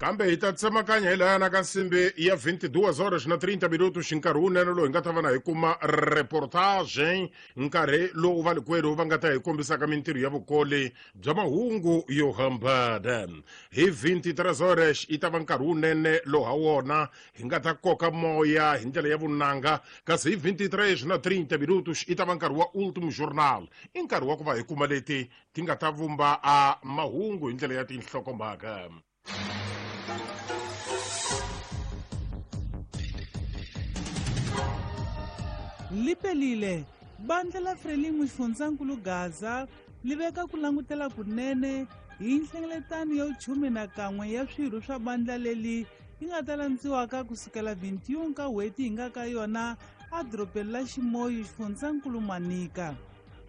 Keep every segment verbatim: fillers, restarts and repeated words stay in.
Kambe hi ta tsemakanya hi lahayana ka nsimbi ya vinte e duas horas na trinta minutos, nkarhi wunene lowu hi nga ta va na hi kuma reportage, nkarhi lowu valikwerhu va nga ta hi kombisaka mintirho ya vukoli bya mahungu yo hambana. Hi vinte e três horas yi ta va nkarhi wunene lowu ha wona hi nga ta koka moya hi ndlela ya vunanga, kasi hi vinte e três na trinta minutos yi ta va nkarhi wa Último Jornal, i nkarhi wa ku va hi kuma leti ti nga ta vumba a mahungu hi ndlela ya tinhlokomhaka. Lipelile bandla la Frelimo xifundzankulu Gaza li veka ku langutela kunene hi nhlengeletano ya vuchume na kan'we ya swirho swa bandla leli yi nga ta landziwaka kusukela vinte e um ka n'hweti hi nga ka yona edorobeni la Ximoyu, xifundzankulu Manika.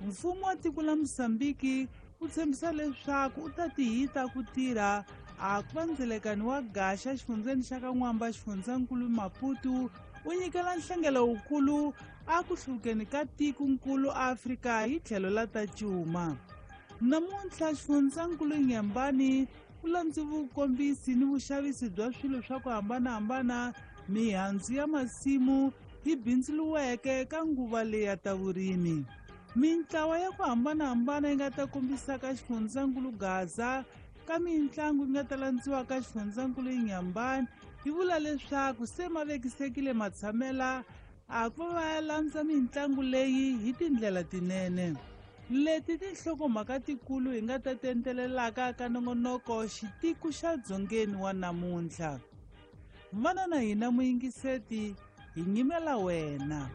Mfumo wa tiko la Mosambiki wu tshembisa leswaku u ta tihita ku tirha a ku va ndzelekani wa gaxa xifundzeni xa ka N'wamba, xifundzankulu Maputo u nyikela nhlengelo wukulu a ku hluvukeni ka tikonkulu Afrika hi tlhelo la ta cuma. Namuntlha xifundzankulu Nyembani u landze vukombisi ni vuxavisi bya swilo swa ku hambanahambana, mihandzu ya masimu yi bindzuriweke ka nguva leyi ya ta vurimi. Mintlawa ya ku hambanahambana yi nga ta kombisaka xifundzankulu Gaza ka mitlangu yi nga ta landziwa ka xifundzankulu Inhambane yi vula leswaku se ma vekisekile matshamela a ku va ya landza mitlangu leyi hi tindlela tinene. Leti tinhlokomhaka tikulu hi nga ta tentelelaka ka nongonoko xitiku xa dzongeni wa namuntlha. Vana na hina muyingiseti, hi nyimela wena.